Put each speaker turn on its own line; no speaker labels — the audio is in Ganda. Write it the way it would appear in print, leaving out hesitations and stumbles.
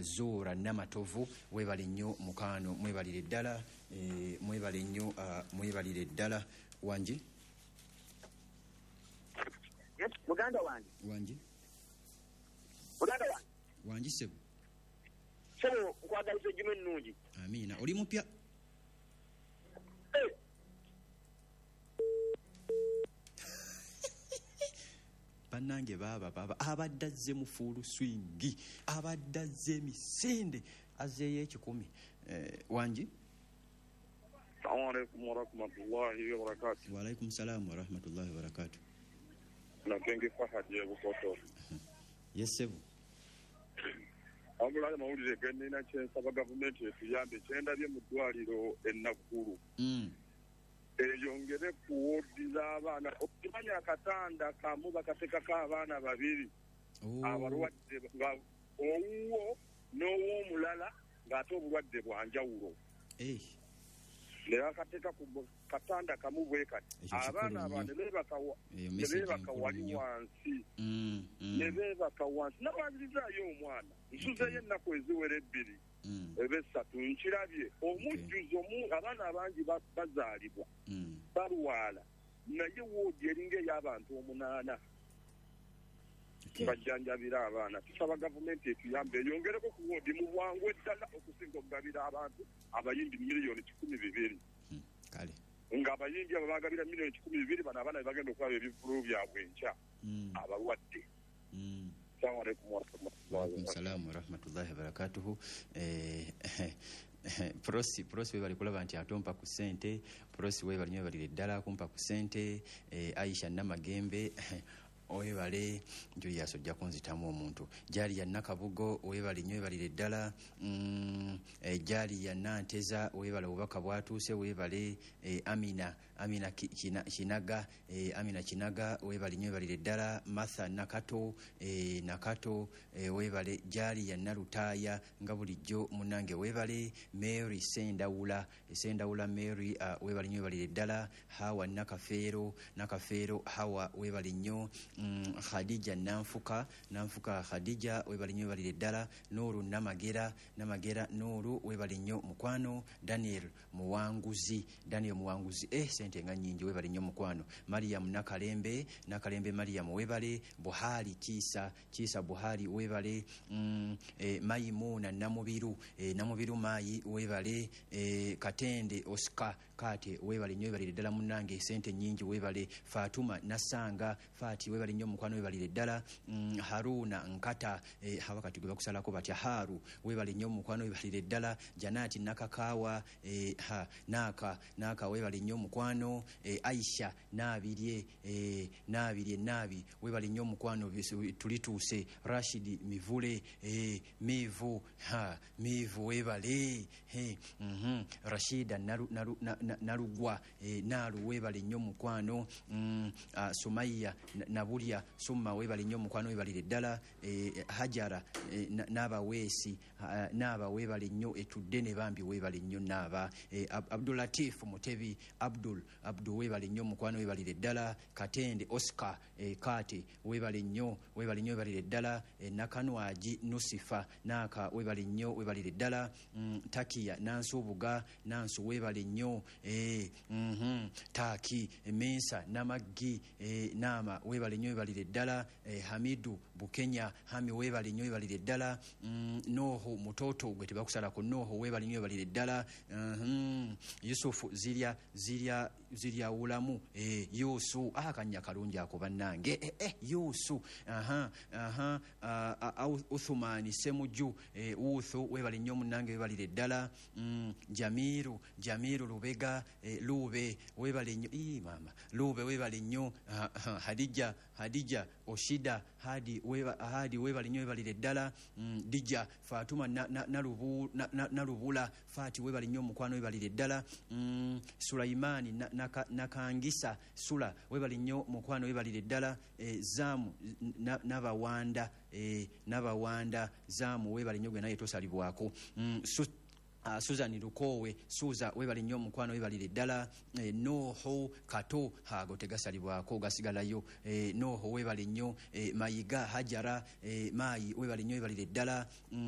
Zura Namatovu, webale nnyo mukaano, mwebalire ddala, mwebale nnyo, mwebalire ddala. Wangi?
Yes, muganda wange.
Wangi?
Muganda wange.
Wangi ssebo.
Ssebo, nkwagaliza ejjuma ennungi.
Amiina. Oli mupya?
Eh.
Bannange baaba baaba abadde azze mu full swing, abadde azze emisinde, azzeeyo 1,000. Wangi?
Assalamu alaikum warahmatullahi wabarakatuh.
Wa alaikum salam warahmatullahi wabarakatuh.
Nakenge Fahad ye Bukoto.
Yes sebo.
Abula mawulire gennina kyensaba gavumenti etuyambe kyendabye mu ddwaliro e Naggulu. Eyongere ku woodi z'abaana. Okimanya akatanda kamu bakateekako abaana babiri. Abalwadde nga owuwo n'ow'omulala ng'ate obulwadde bwa njawulo. Ne bakateeka ku katanda kamu bwe kati. Abaana abo ne beebaka wali wansi. Ne beebaka wansi. Nabanzirizaayo omwana. Nsuzeeyo ennaku eziwera 2. Ebesatu nkirabye omujjuzo abaana abangi bazaalibwa balwala, naye woodi eringa ey'abantu 8 bajjanjabira abaana. Tusaba gavumenti etuyambe eyongereko ku woodi mu bwangu eddala okusinga okugabira abantu abayimbi 1,200,000.
Kale
nga abayimbi abo bagabira 1,200,000, bano abaana be bagenda okulaba ebivvulu byabwe enkya abalwadde. Assalamu alaikum warahmatullahi
Salamu warahmatullahi wabarakatuhu. Prosi webali kulaba nti atompa ku ssente. Prosi webali nnyo, webalire ddala kumpa ku ssente. Aisha Namagembe webale, Julius ojja kunzitamu omuntu. Jali ya Nakabugo webale nnyo, webalire ddala. Jali ya Nanteza webale, obubaka bwatuuse webale. Amina Kinaga, Amina Kinaga webale nnyo, webalire ddala. Martha Nakato, Nakato webale. Jali ya Nalutaaya nga bulijjo munnange webale. Mary Sendawula, Sendawula Mary webale nnyo, webalire ddala. Hawa Nakafeero, Nakafeero Hawa webale nnyo. Khadija Nanfuka, Nanfuka Khadija webale nnyo, webalire ddala. Nuru Namagera, Namagera Nuru webale nnyo mukwano. Daniel Muwanguzi, Daniel Muwanguzi, sente nga nnyingi, webale nnyo mukwano. Mariam Nakalembe, Nakalembe Mariam webale. Buhari Kisa, Kisa Buhari webale. Maimuna Namubiru, Namubiru Mayi webale. Katende Oscar Kate webale nnyo, webalire ddala munnange, sente nnyingi webale. Fatuma Nasanga Fati webale nnyo mukwano, webalire ddala. Haruna Nkata, hawakati gwe bakusalako batya, Haru webale nnyo mukwano, webalire ddala. Janati Nakakawa, Naka webale nnyo mukwano. Aisha Nabirye, Nabirye Nabi webale nnyo mukwano, tulituuse. Rashid Mivule, Mivu, Mivu webale. Rashida Nalugwa, Nalu webale nnyo mukwano. Sumaiya Nabulya Summa webale nnyo mukwano, webalire ddala. Hajara Nabaweesi, Naaba webale nnyo, etudde ne bambi webale nnyo Naaba. Abdulatif Mutebi, Abdul Abdu webale nnyo mukwano, webalire ddala. Katende Oscar Kate webale nnyo, webale nnyo, webalire ddala. Nakanwaji Nusifa Naka webale nnyo, webalire ddala. Takiya Nansubuga Nansu webale nnyo. Taki Mensa Namaggi, Nama webale nnyo, webalire ddala. Hamidu Bukenya Hami webale nnyo, webalire ddala. Noho Mutoto gwe tebakusalako, Noho webale nnyo, webalire ddala. Yusufu Zirya, Zirya, Zirya Wulamu, Yusu, akanya kalungi ako bannange. Yusu, Uthumani Semuju, Uthu webale nnyo munnange, webalire ddala. Jamiru, Jamiru Lubega, Lube webale nnyo, mama Lube webale nnyo. Hadija, Hadija Oshida Hadi Hadi webale nnyo, webalire ddala. Dija Fatuma Nalubula Fati webale nnyo mukwano, webalire ddala. Sulaimani Nakangisa Sula webale nnyo mukwano, webalire ddala. Zamu Nabawanda, Nabawanda Zamu webale nnyo, gwe naye tosalibwako. Susan Lukoowe Suza, webale nnyo omukwano, webalire ddala. Noho Kato, ago tegasalibwako, gasigalayo. Noho webale nnyo. Mayiga Hajara, Maayi webale nnyo, webalire ddala.